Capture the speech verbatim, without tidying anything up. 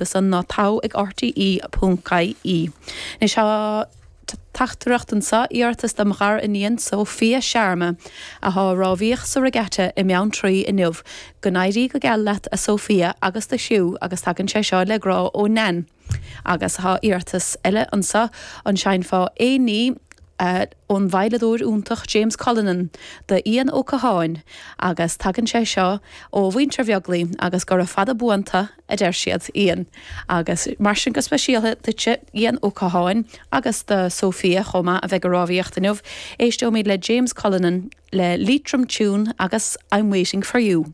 san ná togha ag RTE ponc IE. Anois tá teachtaireacht anseo iarratas dom ghariníon Sophia Sharma atá ag rámhaíocht sa regatta i mBeanntraí inniu, go n-éirí go geal leat a Sophia agus do chriú agus tagann sé seo le grá ó Nan. Agus tá iarratas eile anseo an seinnfeá aon ní uh, ón veidhleadóir iontach James Cullinan do Ian Ó Catháin agus tagann sé seo ó mhuintir Bheaglaoich agus gura fada buan tú a deir siad Ian. agus mar sin go speisialta duitse Ian Ó Catháin agus do Sophia chomh maith a bheidh ag rámhaíocht inniu, éisteoimid le James Cullinan le Leitrim Tune agus I'm waiting for you.